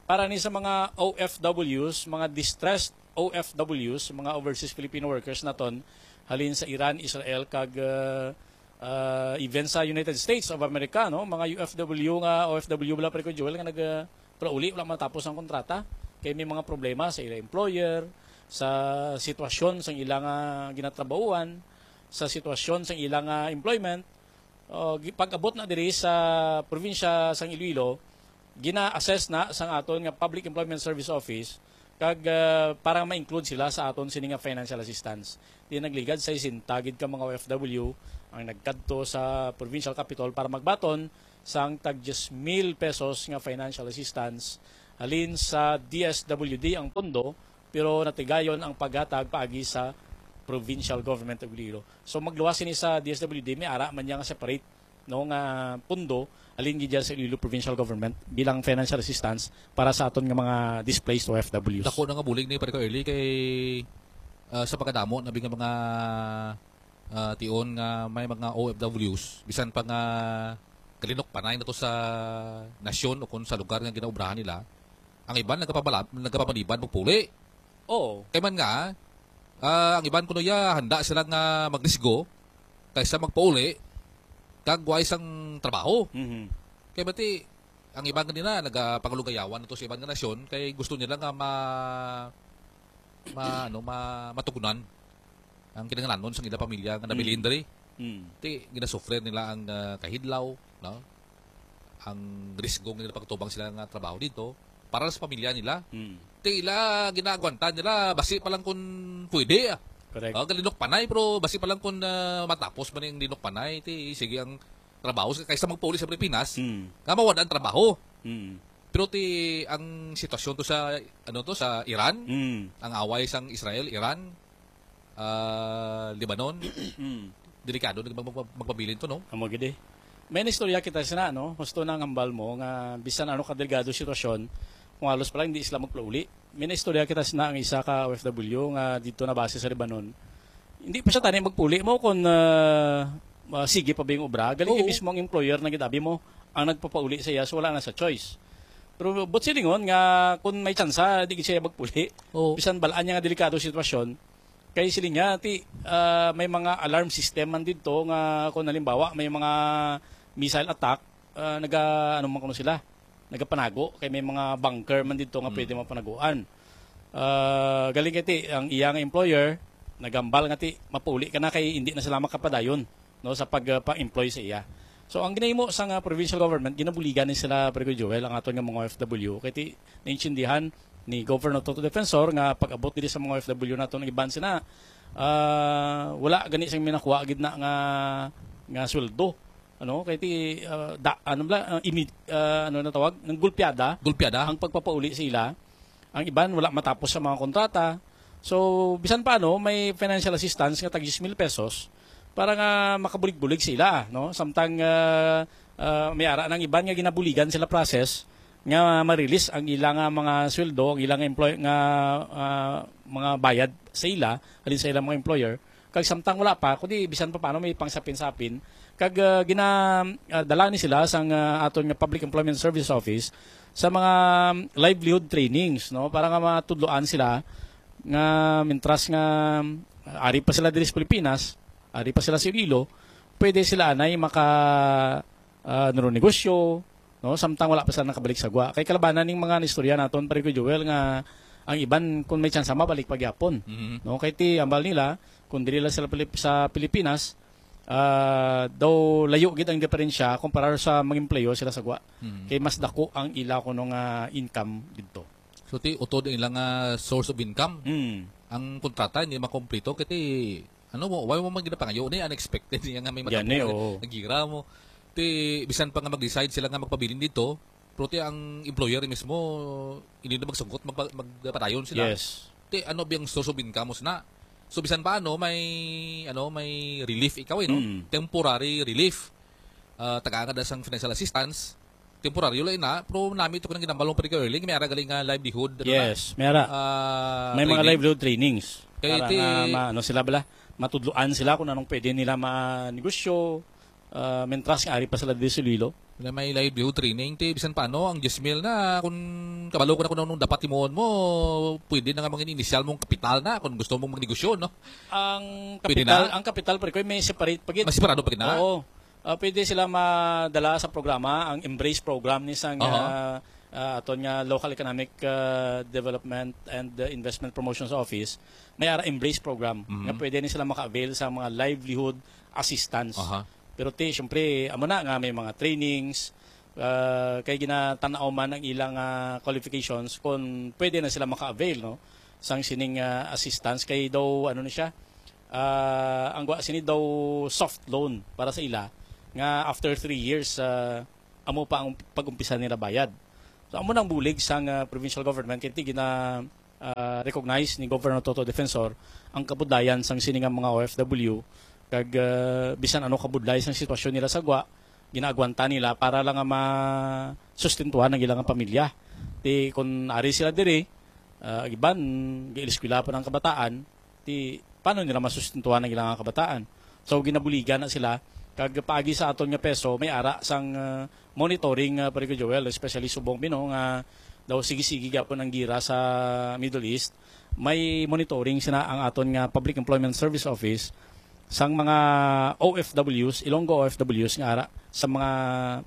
para ni sa mga O F Ws, mga distressed O F Ws, mga overseas Filipino workers naton halin sa Iran, Israel kag uh, uh, even sa United States of America, no, mga U F W nga O F W bala pare ko Joel nga nag uh, palauli wala matapos ang kontrata kay may mga problema sa ila employer, sa sitwasyon sang ila nga ginatrabahuan, sa sitwasyon sang ila nga employment. Uh, pag-abot na diri sa probinsya sang Iloilo, gina-assess na sang aton nga Public Employment Service Office kag uh, para ma-include sila sa aton sini nga financial assistance. Di nagligad sa isinta gid ka mga O F W ang nagkadto sa provincial capitol para magbaton sang tag diyes mil pesos nga financial assistance halin sa D S W D ang pondo, pero natigayon ang paghatag paagi sa provincial government of Iloilo. So magluwas ini sa D S W D, may ara man niya nga separate no nga pondo halin gid sa Iloilo Provincial Government bilang financial assistance para sa aton nga mga displaced O F Ws. Dako na nga bulig ni pare ko early kay uh, sa pagkadamo na nga mga uh, tion nga may mga O F Ws bisan pa nga kalinok panay na to sa nasyon o kung sa lugar nga ginaobrahan nila, ang iban nagapapalab nagapamaniban magpuli. Oo. Kay man nga uh, ang iban kuno ya handa sila nga magrisgo kaysa magpauli kag way sang trabaho. Mm-hmm. Kay bati ang iban kanina nagapangalugayawan to sa iban nga nasyon kay gusto nila nga ma, ma ano ma, matugnan ang kinahanglanon sang ila pamilya nga nabilin diri. Mm. Ti ginasufre nila ang uh, kahidlaw, no? Ang risgo nga nila pagtubang sila nga trabaho dito para sa pamilya nila. Mm. Ti ila ginaagwantan nila basi pa lang kun pwede. Ah. Correct. Oh, galinok panay pero basi pa lang kun uh, matapos man yung linok panay ti sige ang trabaho kaysa magpauli sa Pilipinas mm. Nga mawad ang trabaho. Mm. Pero ti ang sitwasyon to sa ano to sa Iran, mm. Ang away sang Israel, Iran, uh, Lebanon, mm. Delikado na magpabilin to, no? Amo gid eh. May istorya kita sina, no? Gusto na ang hambal mo nga bisan ano ka delikado sitwasyon, kung halos pala hindi sila magpauli. May istorya kita sina ang isa ka O F W nga dito na base sa Lebanon. Hindi pa siya tani magpuli mo kung uh, uh, sige pa ba yung obra. Galing mismo ang employer na gitabi mo ang nagpapauli sa iya, so wala na sa choice. Pero but silingon nga kung may tsansa, di siya magpuli. Oo. Bisan balaan niya nga delikado sitwasyon, kay siling niya, ti, uh, may mga alarm system man dito nga kung halimbawa may mga missile attack, uh, naga, ano man kuno sila, nagapanago, kay may mga bunker man dito nga mm. Pwede mapanaguan. Uh, galing kay ti, ang iya nga employer, nagambal nga ti, mapauli ka na kay hindi na sila makapadayon no, sa pag-employ sa iya. So ang ginahimo sa nga provincial government, ginabuligan ni sila Pregoy Joel ang aton nga mga O F W. Kay ti naintindihan ni Governor Toto Defensor nga pag-abot diri sa mga O F W naton ang iban sina uh, wala gani sing minakuha gid na nga nga sweldo ano kay ti uh, da, ano bla uh, imi, uh, ano na tawag ng gulpiada gulpiada ang pagpapauli sa ila. Ang iban wala matapos sa mga kontrata. So bisan pa ano may financial assistance nga tag mil pesos para nga makabulig-bulig sila, no? Samtang uh, uh, may ara nang iban nga ginabuligan sila process nga ma-release ang ila nga mga sweldo, ang ila nga employ-, nga, ah, mga bayad sa ila, halin sa ilang mga employer, kag samtang wala pa, kundi bisan pa paano may pangsapin-sapin, kag, ah, gina-, ah, dala ni sila sang, ah, aton nga Public Employment Service Office sa mga livelihood trainings, no, para nga matudloan sila nga, mintras nga, ah, ari pa sila diri sa Pilipinas, ari pa sila sa Iloilo, pwede sila anay maka, ah, nanunegosyo, no, samtang wala pa sila nakabalik sa gwa. Kay kalabanan ning mga nistorya naton, pare ko Joel, nga ang iban, kung may tsansa, mabalik pa gyapon. Mhm. No, kay ti ambal nila, kung diri lang sila Pilip-, sa Pilipinas, ah, daw layo gid ang diferensya kumpara sa mag-empleyo sila sa gwa. Mhm. Kay mas dako ang ila kuno nga income didto. So, ti utod ang ilang, ah, source of income. Mm. Ang kontrata hindi makompleto kay ti, ano mo, wala mo man ginapangayo ni, unexpected niya nga may Yan eh, matabo, oo. Nagira mo. Ti bisan pa nga mag-decide sila nga magpabilin dito, pero ti ang employer mismo hindi na magsungkot, magpa-, magpadayon sila. Yes. Ti ano biyang source of income mo sina? So, bisan pa ano, may, ano, may relief ikaw eh, no? Mm. Temporary relief. Ah, tagaan ka da sang financial assistance. Temporaryo lang ina, pero nami to ko nang ginambal mo, pare ko Erling, may ara galing nga livelihood, ano na? Yes, may ara. Ah, May mga training. Livelihood trainings. Kaya Para ti nga ma-, ano sila bala, matudloan sila kung anong pwede nila manegosyo, ah, mentras nga ari pa sila diri sa Iloilo. Wala, may livelihood training, ti bisan paano, ang diyes mil na, kung kabalo ko na kung anong dapat himuon mo, pwede na nga mga initial mong kapital na kung gusto mong magnegosyo, no? Ang Pwede kapital, na? Ang kapital, pare ko, may separate pa gid. Mas separado pa gid na? Oo. Ah, pwede sila madala sa programa, ang Embrace program ni sang, Aha. ah, ah, aton nga Local Economic, ah, Development and, ah, Investment Promotions Office. May ara Embrace program Mhm. nga pwede ni sila maka-avail sa mga livelihood assistance. Aha. Pero ti, syempre, amo na nga may mga trainings, ah, kay ginatanaw man ang ilang, ah, qualifications kung pwede na sila maka-avail, no, sang sining, ah, assistance. Kay daw, ano na siya, ah, ang gwa sini daw soft loan para sa ila nga after three years, ah, amo pa ang pag-umpisa nila bayad. So, amo nang bulig sang, ah, provincial government kay ti gina, ah, recognize ni Governor Toto Defensor ang kabudlayan sang sini nga mga O F W, kag, ah, bisan ano kabudlay sang sitwasyon nila sa gwa, ginaagwanta nila para lang nga masustentuhan ang ilang pamilya. Ti kun ari sila diri, ah, ang iban, gaeskwela pa ang kabataan, ti paano nila masustentuhan ang ilang kabataan? So, ginabuligan na sila. Kag paagi sa aton nga peso, may ara sang, ah, monitoring, ah, pare ko Joel, especially subong bino nga daw sige-sige gyapon ang gira sa Middle East. May monitoring sina ang aton nga Public Employment Service Office sang mga O F Ws, Ilonggo O F Ws nga ara sa mga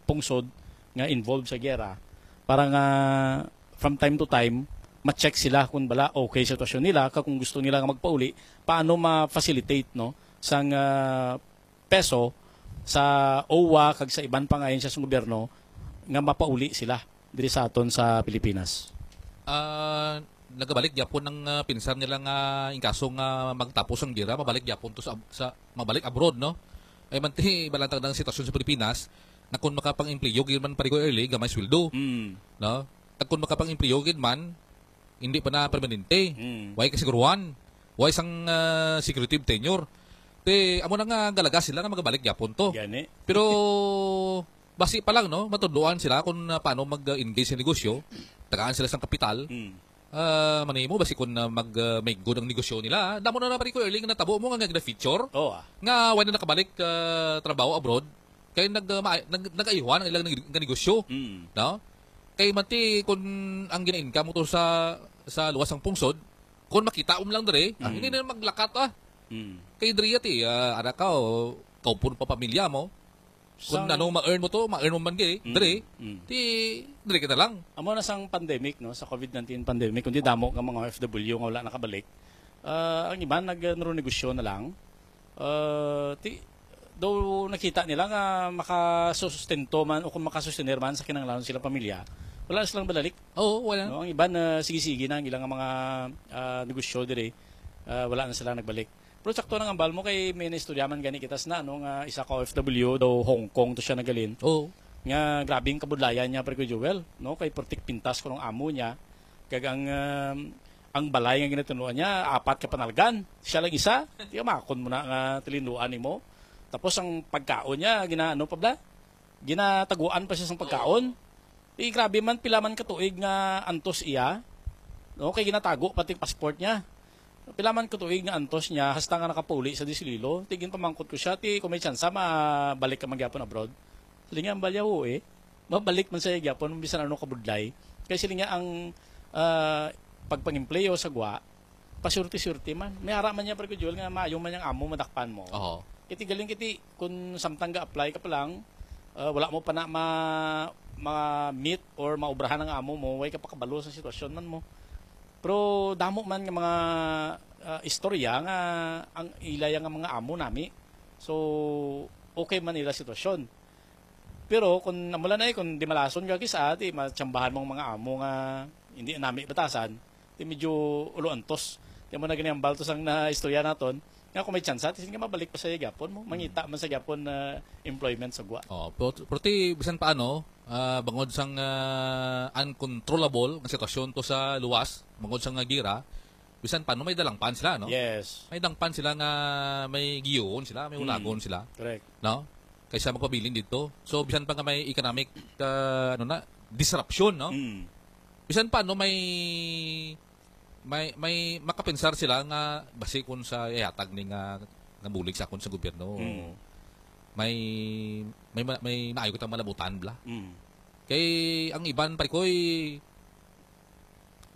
pungsod nga involved sa gera para nga from time to time ma-check sila kung bala okay sa sitwasyon nila, kag kung gusto nila nga magpauli, paano ma-facilitate, no, sang, ah, peso sa O W A kag sa iban pang ahensya sa gobyerno nga mapauli sila diri sa aton sa Pilipinas. Ah, nagabalik gyapon ang, ah, pinsar nila nga in kaso nga magtapos ang gera, mabalik gyapon to sa, sa mabalik abroad, no? Ay man ti balantag ang sitwasyon sa Pilipinas na kung makapang-empleyo gyud man, pare ko Erling, gamay sweldo, Mm. no? Kag kung makapang-empleyo gyud man, hindi pa na permanente. Mm. Way kasiguruhan. Way sang, ah, security of tenure. Te, amo na nga galaga sila nga magabalik gyapon to. Gani. Pero basi pa lang, no, matudloan sila kung, ah, paano mag-engage sa negosyo. Tagaan sila sang kapital. Mm. Ah, manimo basi kung, ah, mag, ah, make good ang negosyo nila. Damo na na, pare ko Erling, natabo mo nga, nga feature. Oo, ah. Nga wala na nakabalik, ah, trabaho abroad. Kay nag, ah, ma-, nag, nag-ayuhan ang ilang neg-, nga negosyo. Mm. No? Kay mati, kung ang gina-income mo to sa, sa luwas sang pungsod, kung makita mo lang diri, ah, Mm. hindi na maglakat, ah. Mm. Kay diri ti, ah, ara ka, o, kaupon pa pamilya mo. Kung Sang ano ma-earn mo to, ma-earn mo man gid, Mm. diri, Mm. ti, diri ka na lang. Amo na sang pandemic, no, sa covid nineteen pandemic, kundi damo nga mga O F W nga wala nakabalik. Ah, ang iban nag-, nanunegosyo na lang. Ah, ti, daw nakita nila nga makasustento man o kung makasustener man sa kinahanglanon sila pamilya, wala na silang balalik. Oo, wala. No, ang iban, ah, sige-sige na ang ilang mga, ah, negosyo diri. Ah, wala na sila nagbalik. Pero sakto na nga ambal mo kay may naistorya man gani kita sa na, no, nga isa ka O F W daw Hong Kong to siya nagalin. Oo. Nga grabe ang kabudlayan niya, pare ko Joel, no? Kay purtik pintas ko ng amo niya. Kag ang, um, ang balay nga ginatunuan niya, apat ka panalgan. Siya lang isa. Di ka makon mo na nga tilinuan nimo. Tapos ang pagkaon niya, ginaano pa bla? Ginataguan pa siya sang pagkaon. Ti grabe man, pila man ka tuig nga antos iya, no? Kay ginatago pati passport niya. Pila man ka tuig nga antos niya, hasta nga nakapauli sa Iloilo. Ti ginpamangkot ko siya, ti kung may tsansa, mabalik ka man gyapon abroad. Siling niya, ang balyaw, eh. Mabalik man siya gyapon, bisan ano kabudlay. Kay siling niya ang, ah, pagpangempleyo sa gwa, pasurti-surti man. May ara man niya, Pre Joel, nga maayo man yang amo, madakpan mo. Oho. Kiti galing kiti, kung samtang ga-apply ka pa lang, ah, wala mo pa na ma-, ma-meet or maubrahan ang amo mo, way ka pa kabalo sa sitwasyon man mo. Pero damo man nga mga, ah, istorya nga ang ilaya nga mga amo nami. So, okay man ila sitwasyon. Pero kung amo lang na, eh, kung di malason ka kisa, di matsambahan mong mga amo nga hindi nami batasan, di medyo ulo antos. Di mo na ginihambal to sang na istorya naton. Nga kung may tsansa, ti sige, mabalik pa sa gyapon mo. Mangita man sa gyapon na employment sa gwa. Oh, pero, pero ti, bisan pa ano, ah, bangod sang, ah, uncontrollable nga sitwasyon to sa luwas, bangod sang nga gira, bisan pa ano, may dalangpan sila, no? Yes. May dangpan sila nga may giyuon sila, may Mm. ulagon sila, Correct. no? Kaysa magpabilin dito. So, bisan pa nga may economic, ah, ano na, disruption, no? Mm. Bisan pa ano, may, may, may makapensar sila nga basi kun sa ihatag ni nga, nga bulig sa akon sa gobyerno. Mm. May, may ma-, may maayo kitang malabutan, bla. Mm. Kay ang iban, pare ko, eh,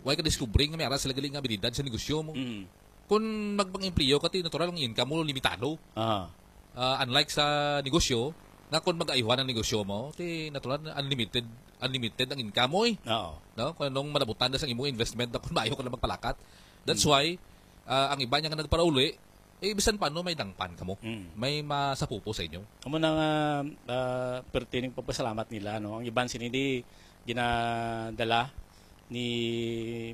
way ka discovery nga may ara sila gali nga abilidad sa negosyo mo. Mm. Kung magpang-empleyo ka, ti natural ang income mo limitado. Ah. Ah, unlike sa negosyo, nga kung mag-ayuhan ang negosyo mo, ti natural na unlimited, unlimited ang income mo, eh. Oo. No? Kung anong malabutan na sa imong investment na kung maayo ka na magpalakat. That's Mm. why, ah, ang iba niya nga nagparauli, eh, bisan paano may dangpan kamo. Mm. May masapupo sa inyo. Amo na nga, ah, pertining pagpasalamat nila, no? Ang iban sini di ginadala ni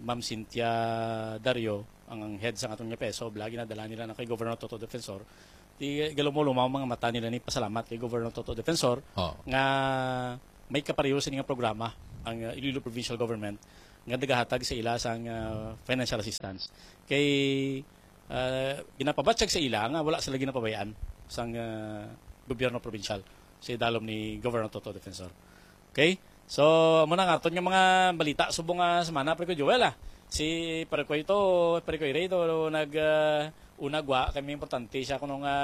Ma'am Cynthia Dario, ang, ang head sa aton nga P E S O, bla, ginadala nila na kay Governor Toto Defensor. Di galumuluma ang mga mata nila ni pasalamat kay Governor Toto Defensor Oo. nga may kapareho sini nga programa ang, uh, Iloilo Provincial Government nga nagahatag sa ila sang, uh, financial assistance. Kay, uh, ginapabatyag sa ila nga wala sila ginapabayaan sang, uh, gobyerno probinsyal sa idalom ni Governor Toto Defensor. Okay? So, amo na nga aton nga mga balita subong nga semana, Pre ko Joel, ah. Si Pre ko ito, Pre ko Ray ito, nag, ah, unag wa, kay may importante siya kuno nga,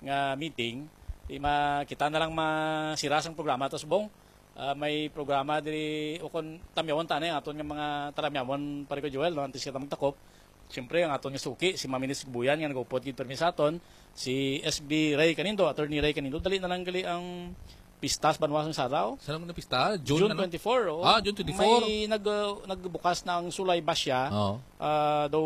nga meeting. Di ma-, kita na lang masira sang programa to subong. Ah, may programa diri, o kon tamyawon ta na yung aton nga mga talamyawon, Pre ko Joel, no? Antes kita magtakop. Siyempre, ang aton nga suki, si Ma'am Ines Sibuyan, nga nag-upod gid permi sa aton, si S B Ray Canindo, Attorney Ray Canindo, dali na lang gali ang pista sa Banwa sang Sara, oh. Saan ang pista? June, June ano? twenty-four, oh. Ah, June twenty-four. May nag-, uh, nagbukas na ang Sulay Basya. Oo. Ah, daw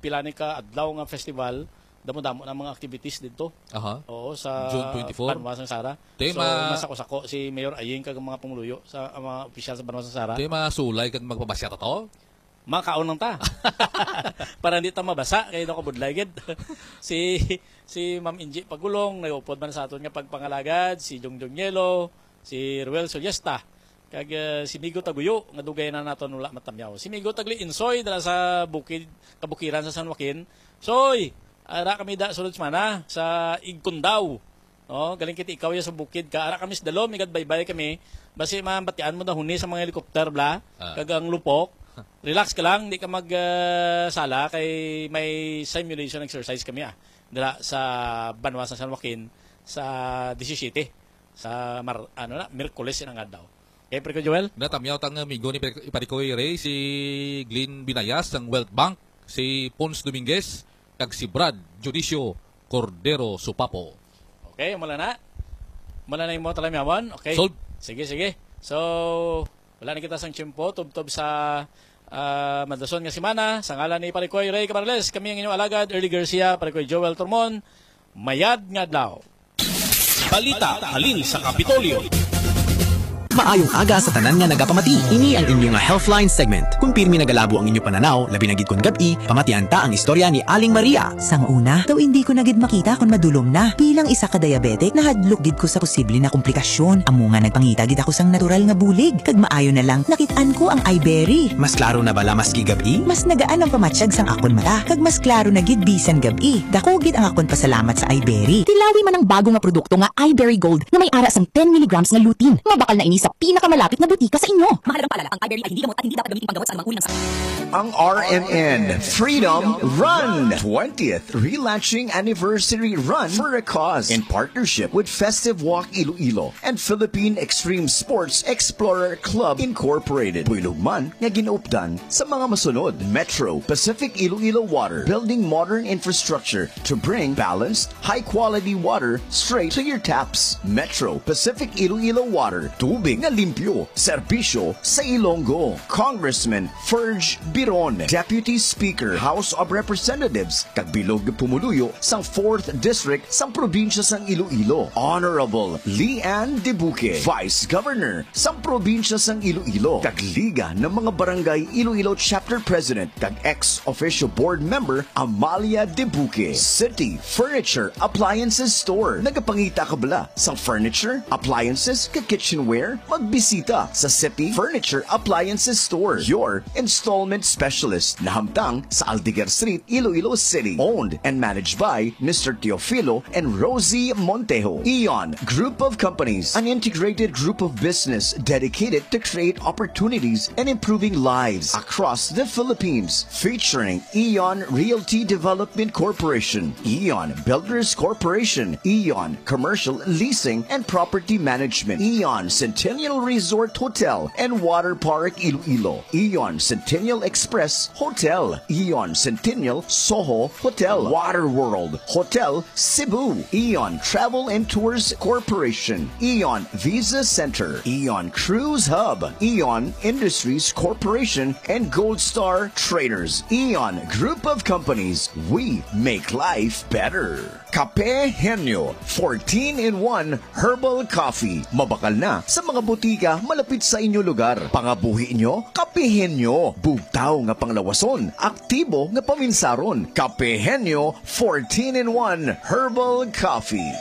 pila ni ka adlaw nga festival, damo-damo na mga activities dito. Aha. Oo, sa June twenty-four. Banwa sang Sara. Te, So, ma- masako-sako si Mayor Aying kag mga pumuluyo sa, ang mga opisyal sa Banwa sang Sara. Te, masulay kag magpabasya ta to? Makaon lang ta. Para hindi ta mabasa, kay nakabudlay gid. Si, si Ma'am Inji Pagulong, nag-upod man sa aton nga pagpangalagad, si Jongjong Yelo, si Ruel Soliesta, kag, eh, si Migo Taguyo, nga dugay na naton wala matamyaw. Si Migo Tagli Insoy, dala sa bukid, kabukiran sa San Joaquin. Soy, ara kami da sulod semana sa Igcondao. Oh, galing kiti ikaw ya sa bukid ka. Ara kami sa dalom, igad baybay kami. Basi mabatian mo dahon ni sa mga helicopter, bla. Ah. Kag ang lupok. Relax ka lang, di ka mag, ah, sala kay may simulation exercise kami, ah. Dira sa banwa sa San Joaquin sa disisiyete, sa Mar-, ano na, Miyerkules inang adlaw. Okay, Pre ko Joel? Natamyaw tang amigo ni Pre-, Pare ko Ray, si Glenn Binayas sang Wealth Bank, si Pons Dominguez, kag si Brad Dionisio Cordero Supapo. Okay, mula na. Mula na yung mga talamyawan. Okay. Solve. Sige, sige. So, wala na kita sang tiyempo. Tubtob sa, ah, madason nga semana. Sa ngalan ni Pare Koy Ray Camarales, kami ang inyong alagad, Early Garcia, Pare Koy Joel Tormon. Mayad nga adlaw. Balita halin sa Kapitolyo. Maayong aga sa tanan nga nagapamati. Ini ang inyo nga Healthline segment. Kung pirmi nagalabo ang inyo pananaw, labi na gid kon gab-i, pamatian ta ang istorya ni Aling Maria. Sang una, daw indi ko na gid makita kon madulom na. Bilang isa ka diabetic, nahadlok gid ko sa posible na komplikasyon. Amo nga nagpangita gid ako sang natural nga bulig, kag maayo na lang nakit-an ko ang iBerry. Mas klaro na bala maski gab-i? Mas nagaan ang pamatyag sang akon mata, kag mas klaro na gid bisan gab-i. Dako gid ang akon pasalamat sa iBerry. Tilawi man ang bago nga produkto nga iBerry Gold nga may ara sang ten milligrams nga lutein. Mabakal na ini sa Pinakamalapit na butika sa inyo. Mahalagang paalala, ang Iberry ay hindi gamot at hindi dapat gamitin panggamot sa anumang uri ng sakit. Ang R M N Freedom Run, twentieth Relaunching Anniversary Run for a Cause, in partnership with Festive Walk Iloilo and Philippine Extreme Sports Explorer Club Incorporated. Buylog man nga ginaupdan sa mga masunod: Metro Pacific Iloilo Water, building modern infrastructure to bring balanced, high-quality water straight to your taps. Metro Pacific Iloilo Water, tubig nga limpyo, serbisyo sa Ilonggo. Congressman Ferge Biron, Deputy Speaker, House of Representatives, kag bilog nga pumuluyo sang fourth District sang Probinsya sang Iloilo, Honorable Leanne Debuque, Vice Governor sang Probinsya sang Iloilo, kag Liga ng mga Barangay Iloilo Chapter President kag ex officio board member Amalia Debuque. City Furniture Appliances Store, nagapangita ka bala sang furniture, appliances, kag kitchenware? Magbisita sa City Furniture Appliances Store, your installment specialist, nahamtang sa Aldeguer Street, Iloilo City. Owned and managed by Mister Teofilo and Rosie Montejo. Eon Group of Companies, an integrated group of business dedicated to create opportunities and improving lives across the Philippines. Featuring Eon Realty Development Corporation, Eon Builders Corporation, Eon Commercial Leasing and Property Management, Eon Centennial Resort Hotel and Water Park Iloilo, Eon Centennial Express Hotel, Eon Centennial Soho Hotel, Water World Hotel Cebu, Eon Travel and Tours Corporation, Eon Visa Center, Eon Cruise Hub, Eon Industries Corporation, and Gold Star Traders. Eon Group of Companies, we make life better. Kape Henyo, fourteen-in-one Herbal Coffee. Mabakal na sa mga butika malapit sa inyo lugar. Pangabuhi nyo, Kape Henyo. Bugtaw nga panglawason, aktibo nga paminsaron. Kape Henyo, fourteen-in-one Herbal Coffee.